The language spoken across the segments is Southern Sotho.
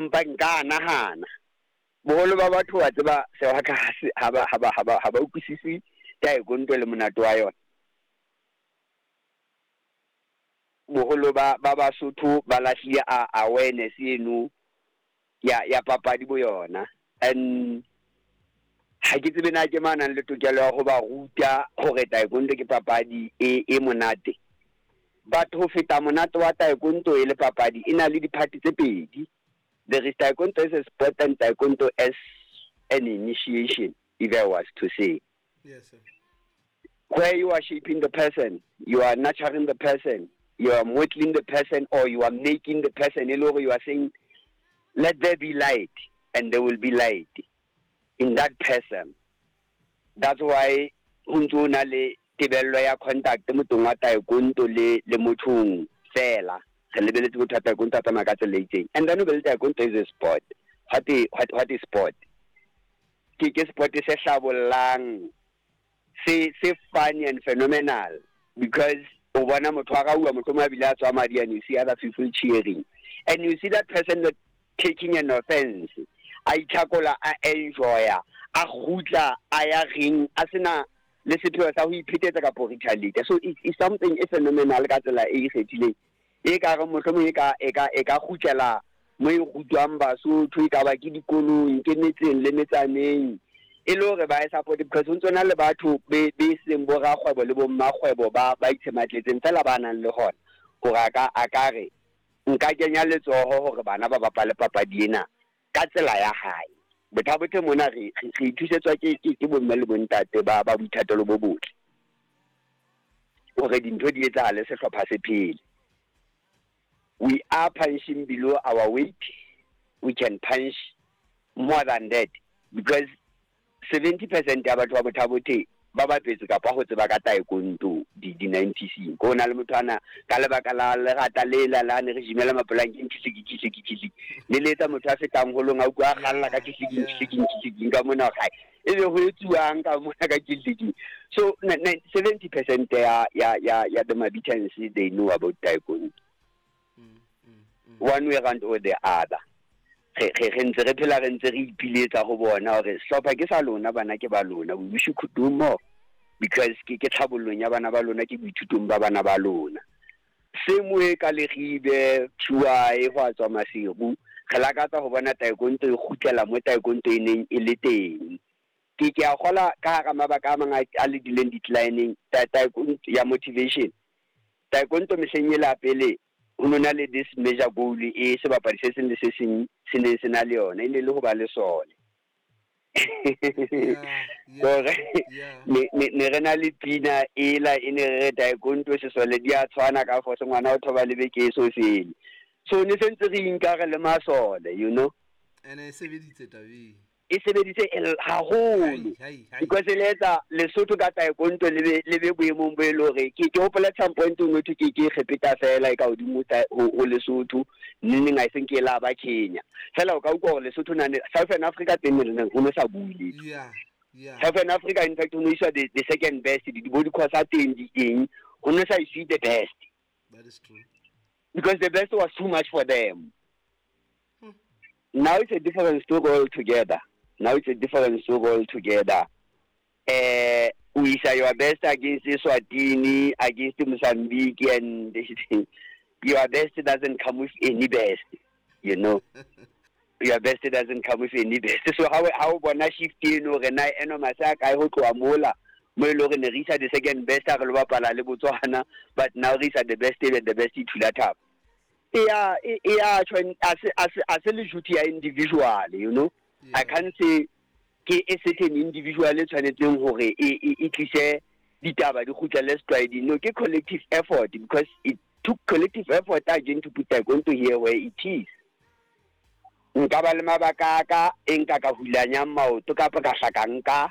Mpa nka nahana boholo ba batho wa tseba sewaka ha ba utlwisisi taekwondo le monate wa yona. Boholo ba Basotho ba lahlile awareness eno ya papadi bo yona, and ha ke tsebe na ke mang nang le tokelo ya ho ba ruta hore taekwondo ke papadi e monate. But ho feta monate wa taekwondo e le papadi, e na le di-part tse pedi. There is taekwondo as a sport and taekwondo as an initiation, if I was to say. Yes, sir. Where you are shaping the person, you are nurturing the person, you are modeling the person, or you are making the person. E le hore you are saying, "Let there be light," and there will be light in that person. That's why ho ntso na le tebello ya contact mothong wa taekwondo le mothong fela. Re lebeletse motho wa taekwondo a tsamaya ka tsela e itseng. And then o be le taekwondo is a sport. What is sport? Ke sport se hlabollang, se funny and phenomenal, because o bona motho a rauwa, mohlomong a bile a tswa madi, and you see other people cheering and you see that person not taking an offense, a itlhakola, a enjoya, a kgutla, a ya ring a sena le sepheo sa ho iphetetsa kapo retaliate. So it's something e phenomenal ka tsela e ikgethileng, e ka re mohlomong e ka kgutlela mo e rutwang Basotho, e ka ba ke dikolong, ke metseng le metsaneng, e le hore ba e support, because ho ntso na le batho be seng bo rakgwebo le bo mmakgwebo ba itshematletseng fela, ba nang le hona hore a ka re nka kenya letsoho hore bana ba bapale papadi ena ka tsela ya hae. Bothabothe mona re ithusetswa ke bomme le bontate ba boithatelo bo botle hore dintho di etsahale, sehlopha se phele. We are punching below our weight. We can punch more than that, because 70% ya batho ba Bothabothe ba bapetse kapa ho tseba ka taekwondo di 90s. Ko na le motho ana ka lebaka la lerata lela la ne re jimela mapolankeng, kihliki kihliki kihliki, le letsa motho a fetang holong, a utlwa a kgalla ka kihliki kihliki kihliki ka mona gae, e be ho etsuwang ka mona ka kihliki. So 70% ya the Mabitans, they know about taekwondo one way round or the other. Re ntse re phela, re ntse re ipiletsa ho bona hore sehlopha ke sa lona, bana ke ba lona. We wish you could do more, because ke tlhabollong ya bana ba lona, ke boithutong ba bana ba lona. Same way ka Leribe Thuae, ho a tswa Maseru, re lakatsa ho bona taekwondo e kgutlela mo taekwondo e neng e le teng. Ke a kgola ka hara mabaka a mang a le dileng declining taekwondo ya motivation. Taekwondo mehleng e la pele, ho no na le this major goal e sebapadi se seng le se seng se neng se na le yona, e ne le ho ba le sole. Hore ne re na le pina ela e ne re re taekwondo sesole di a tshwana ka force, ngwana o thoba le beke e so fele. So ne sentse re inka re le masole. Ene e sebeditse tabeng. E sebeditse haholo. Hai, hai, hai. Because le etsa Lesotho ka taekwondo le be boemong bo e le hore ke hopola at some point o no thwe ke kgepeta fela e ka hodimo ho Lesotho neng, I think e la ba Kenya fela. O ka utlwa hore Lesotho nane Southern Africa teng ne re ho no sa bue letho. Southern Africa, in fact, ho no iswa the second best, di bo di khosa teng di eng, ho no sa iswe the best. That is true. Because the best was too much for them. Now it's a different story altogether. Now it's a different story altogether. We say your best against Eswatini, against Mozambique, and your best doesn't come with any best. Your best doesn't come with any best. So how bona shift eno re na eno masaka a ho tloha mola mo e le hore ne re isa the second best ha re lo bapala le Botswana, but now re isa the best and the best e thula thaba. E ya tjho a se le duty ya individual. I can't say ke a certain individual e tshwanetseng hore e tlise ditaba di kgutlele setlwaeding. No, ke collective effort, because it took collective effort again to put taekwondo here where it is. Nka ba le mabaka a ka e nka ka hulanyang maoto kapa ka hlaka nka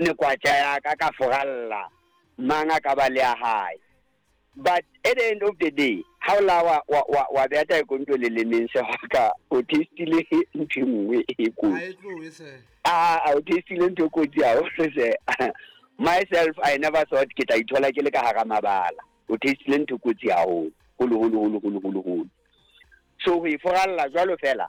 nekwatja ya ka foralla mang a ka ba le ya hae, but at the end of the day, ha o la wa beha taekwondo le lemeng se ka o testile ntho e nngwe e kotsi. Ha e tlohe se. A o testile ntho e kotsi haholo se. Myself, I never thought ke tla ithola ke le ka hara mabala. O testile ntho e kotsi haholo holo holo holo holo holo holo. So ho e foralla jwalo fela.